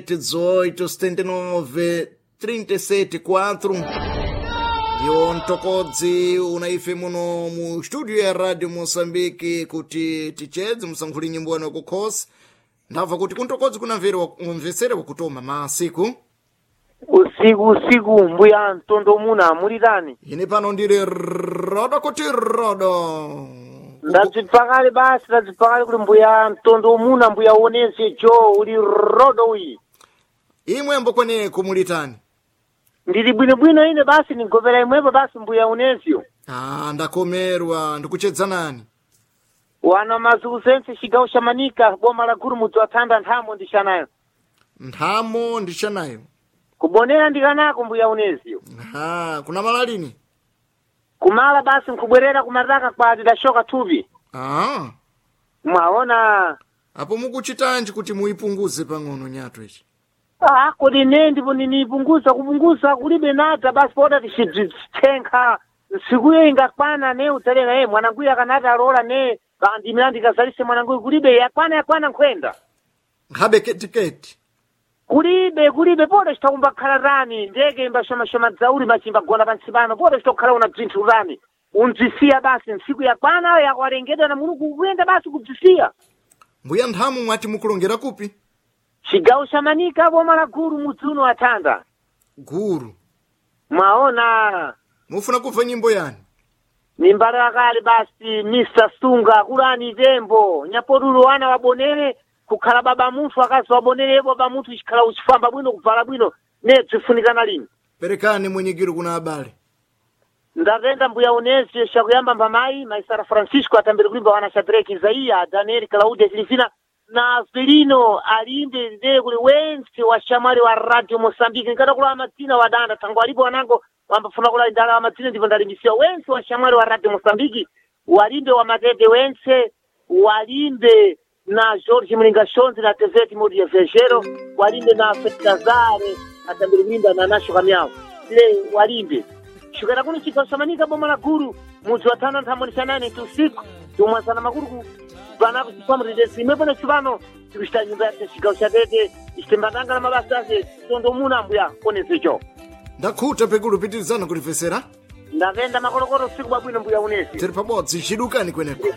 18 79 37 4 ndiwo mtokodzi una ife muno mu studio ya Radio Moçambique kuti tichedze musankhuli nyimbo yanu yakukhosi. Ndabva kuti kuntokodzi kunamvesera wakutoma masiku. Usiku usiku, mbuya Ntondo, muna mulitani? Ine pano ndiri rodo kuti rodo. Ndadzipfakale basi, ndadzipfakale kuti mbuya Ntondo muna, mbuya onese jo uli rodo uyi. Imwe mbokweneko mulitani? Ndili bwinobwino ine basi, nigopera imwepo basi, mbuya unesio. Ah, ndakomerwa. Ndikuchedza nani? Wana mazuku sense, chigawo cha Manika, boma la Guru, mudzi wa Thanda, nthamo ndishanayo. Nthamo ndishanayo. Kubonera ndikanako, mbuya unesio. Ha, kuna malalini? Kumala basi, nkubwerera kumataka kwa tidashoka thupi. Ah. Mwaona. Apo mukuchitanji kuti muipunguze pang'ono nyato ichi? Ah, kodi ne ndipo ninipunguza kupunguza kulibe nada basi, poda tichidzitsenkha nsikuyo ingakwana ne udzalenga e mwananguyu akanati alola ne bandimira ndikazalise mwananguyu, kulibe, yakwana yakwana nkhwenda. Nkhabe ketiketi. Kulibe, kulibe, poda chitakumbakhala tani ndeke imbashomashoma dzauli machimbagona pansi pano, poda chitokhala una bzinthu tani undzisiya basi, ntsiku yakwana yakwalengedwa na Mulungu kuyenda basi kubzisiya. Mbuya Nthamo, mwati mukulongera kupi? Chigawo cha Manika, boma la Guru, mudzi uno wa Thanda. Guru. Mwaona. Mufuna kubva nyimbo yani? Nimbalo yakale basi, Mr Sunga kulani tembo nyapotulo wana wabonere kukhala baba munthu, akazi wabonere baba munthu ichikhala uchifamba bwino, kuvala bwino, ne bzifunikana lini. Perekani mwenyekiro kuna abale. Ndatenda, mbuya unezi. Shakuyamba mbamayi Maisara Francisco atambire kulimba wana Shadrack, Isaiya, Daniel, Claudia, Silivina na Felino alimbe ndee kuli wense wa shamwali wa Radio Mosambiki. Nkata madzina wadanda tango alipo wanango wambafuna kula ndala wa madzina, ndipo ndalimbisiwa wense wa shamwali wa Radio Mosambiki, walimbe wa Matete wense, walimbe na George Mlinga Shonzi na Tezeti Modi ya Vejero, walimbe na Fetazare atambire kulimba na Nasho Kamyao ile walimbe shukera kuno chigawo cha Manika, boma la Guru, mudzi wa Thanda, nthambo nane tusiku tumwasana makulu panapo chipamutete imwepo na chipano tikuchita nyumba yake chigawo cha Tete ichitembatanga na mabasa ake tondo muna mbuya onesecho. Ndakhuta pekulu, pitirizana kulipesera. Ndapenda makolokolo, usiku bwabwino, mbuya unesi. Tiri pabodzi, chidukani kweneko.